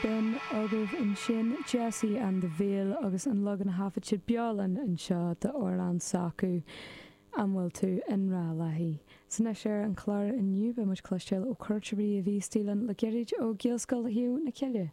B'in agaibh ansin Jesse and the Veil agus an leagan a thaifead siad beo linn anseo d'amhrán s'acu, An bhfuil tú i ngrá léi? 'S anois ar an chlár inniu beidh muid ag cloisteáil ó chuairteoirí a bhí istigh linn le gairid ó Ghaelscoil Thaobh na Cille.